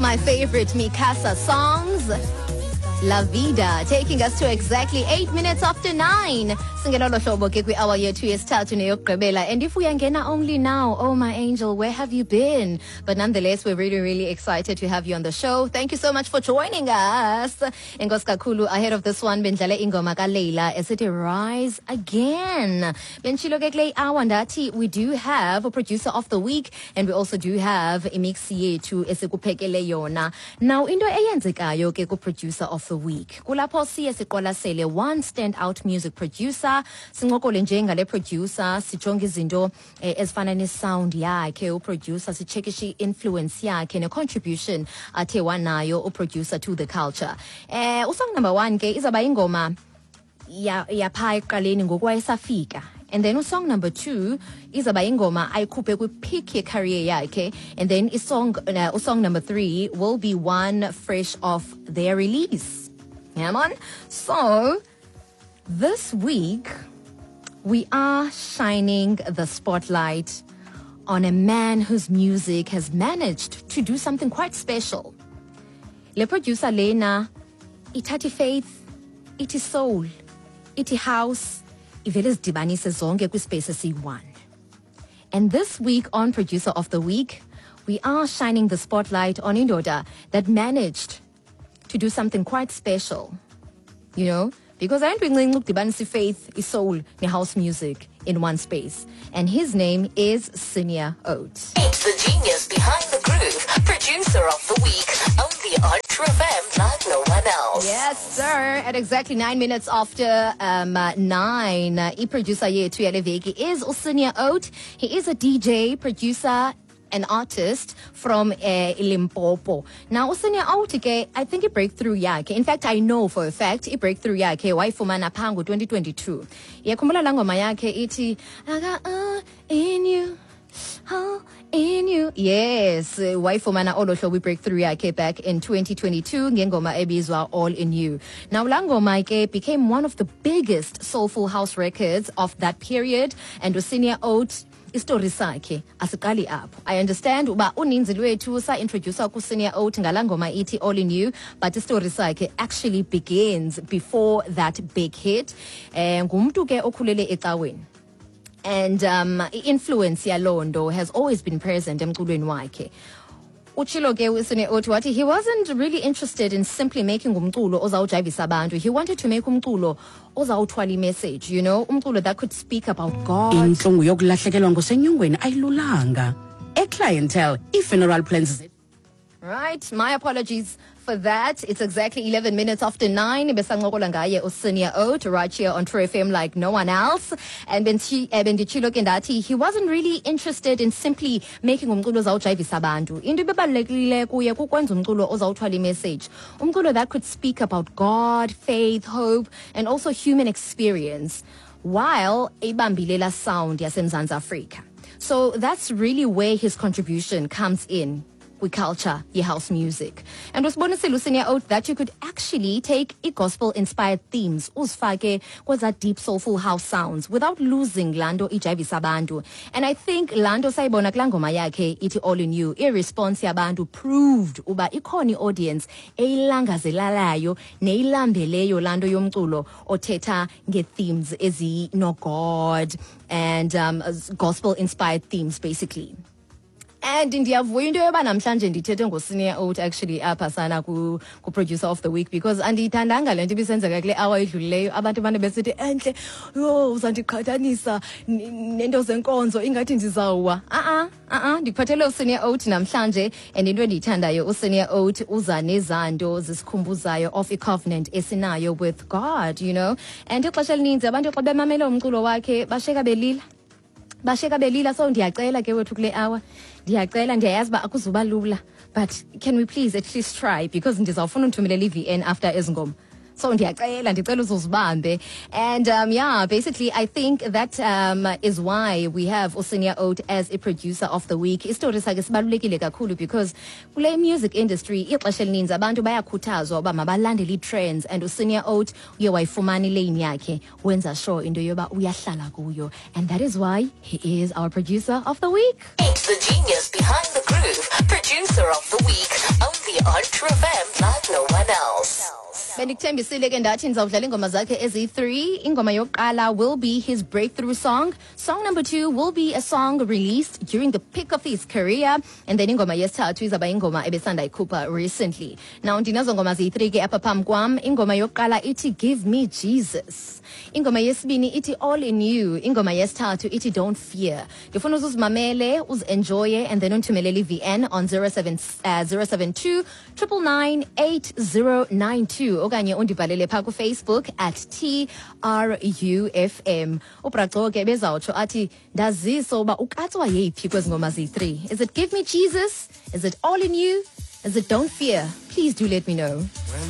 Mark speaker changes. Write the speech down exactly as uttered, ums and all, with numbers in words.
Speaker 1: My favorite Mi Casa songs. La Vida, taking us to exactly eight minutes after nine. Singena lo hlobo ke kwi-hour yethu yesithathu neyokugqibela. And if uyangena only now, oh my angel, where have you been? But nonetheless, we're really, really excited to have you on the show. Thank you so much for joining us. Enkosi kakhulu, ahead of this one, bendlale ingoma kaLeila esithi Rise Again. Benditshilo ke kule hour ndathi we do have a producer of the week and we also do have imix yethu esikuphekele yona. Now, into eyenzekayo ke ku-producer of the week, kulapho siye siqwalasele one standout music producer, sincokole nje ngale producer, sijonge izinto eh, ezifana ne-sound yakhe uproducer, sicheckishe i-influence yakhe ne-contribution athe wanayo uproducer to the culture. Eh usong number one ke izawuba ingoma ya yapha ekuqaleni ngoku wayesafika, and then usong number two izawuba ingoma ayikhuphe kwi-peak ye-career yakhe, and then isong uh, usong number three will be one fresh off their release. Yeah, man. So this week we are shining the spotlight on a man whose music has managed to do something quite special. Le producer lena ithatha faith, ithi soul, ithi house, ivele zidibanise zonke kwispace esiyi-one. And this week on Producer of the Week, we are shining the spotlight on indoda that managed to do something quite special. You know, because ayinto incinci ukudibanisa i-faith, i-soul, ne-house music in one space. And his name is Senior Oats.
Speaker 2: Meet the genius behind the groove, producer of the week, only on True F M like no one else.
Speaker 1: Yes, sir. At exactly nine minutes after um, uh, nine, uh, i-producer yethu yale veki is uSenior Oat. He is a D J, producer, an artist from uh, Limpopo. Now, uSenior Oat ke, I think i-breakthrough yakhe, in fact, I know for a fact, i-breakthrough yakhe wayifumana phaa ngo-twenty twenty-two. Iyakhumbula laa ngoma yakhe ithi, "I got all in you, all in you"? Yes, wayifumana olo hlobo i-breakthrough yakhe back in twenty twenty-two ngengoma ebizwa All in You. Now, laa ngoma ke became one of the biggest soulful house records of that period, and uSenior Oat, istori sakhe asiqali apho. I understand uba uninzi lwethu sa-introduce kuSenior Oat ngalaa ngoma ithi All in You, but istori sakhe actually begins before that big hit. um ngumntu ke okhulele ecaweni, and um i-influence yaloo nto has always been present emculweni wakhe. Utshilo ke uSenior Oat wathi he wasn't really interested in simply making umculo ozawujayivisa abantu. He wanted to make umculo ozawuthwala imessage, you know umculo that could speak about God.
Speaker 3: Intlungu yokulahlekelwa ngosenyongweni ayilulanga. EClientele, ii-funeral plans.
Speaker 1: Right, my apologies for that. It's exactly eleven minutes after nine. Besancokola ngaye uSenior Oat right here on True F M like no one else. And benthi- eh, benditshilo ke ndathi he wasn't really interested in simply making umculo ozawujayivisa abantu. Into ebebalulekile kuye kukwenza umculo ozawuthwala imessage. Umculo that could speak about God, faith, hope, and also human experience while ebambile la sound yaseMzantsi Afrika. So that's really where his contribution comes in kwi-culture ye-house music. And usibonisile uSenior Oat that you could actually take i-gospel inspired themes uzifake kweza deep soulful house sounds without losing laa nto ijayivisa abantu. And I think laa nto sayibona kulaa ngoma yakhe ithi All in You. I-response yabantu proved uba ikhona i-audience eyilangazelalayo neyilambeleyo laa nto yomculo othetha ngee-themes ezino-God and um, gospel inspired themes, basically. And ndiyavuya into yoba namhlanje ndithethe ngoSenior Oat actually apha sana ku-producer of the week, because andiyithandanga le nto ibisenzeka kule hour idlulileyo, abantu bane besithi, "Entle, yho, uzandiqhathanisa nento zenkonzo, ingathi ndizawuwa." A-a, a-a, ndikuphathele uSenior Oat namhlanje, and into endiyithandayo, uSenior Oat uza nezanto zisikhumbuzayo of i-covenant esinayo with God you know And ixesha elininzi abantu xa bemamele umculo wakhe basheka belila, basheka belila. So ndiyacela ke wethu kule hour, ndiyacela, ndiyayazi uba akuzuba lula, but can we please at least try? Because ndizawufuna undithumelela i-V N after ezi ngoma, so ndiyacela, ndicela uzuzibambe. And um, yeah, basically I think that um, is why we have uSenior Oat as a producer of the week. Isitori sakhe sibalulekile kakhulu because kule music industry ixesha elininzi abantu bayakhuthazwa uba mabalandele ii-trends, and uSenior Oat uye wayifumana ilane yakhe, wenza sure into yoba uyahlala kuyo, and that is why he is our producer of the week.
Speaker 2: Meet the genius behind the Groove, producer of the week, only on True F M like no one else.
Speaker 1: Bendikuthembisile ke ndathi ndizawudlala iingoma zakhe eziyi-three. Ingoma yokuqala will be his breakthrough song. Song number two will be a song released during the peak of his career, and then ingoma yesithathu izawuba ingoma ebesanda ikhupha recently. Now ndinazo ngoma ziyi-three ke apha phambi kwam. Ingoma yokuqala ithi "Give Me Jesus", ingoma yesibini ithi "All in You", ingoma yesithathu ithi "Don't Fear". Ndifuna uzuzimamele, uzi-enjoye, and then undithumelele i-V N on zero seven, uh, zero seven two nine nine nine eight zero nine two okanye undibhalele phaa kuFacebook at T R U F M. UBraco ke bezawutsho athi ndazise uba ukatswa yeyiphi kwezi ngoma ziyi-three. Is it "Give Me Jesus"? Is it "All in You"? Is it "Don't Fear"? Please do let me know.
Speaker 4: When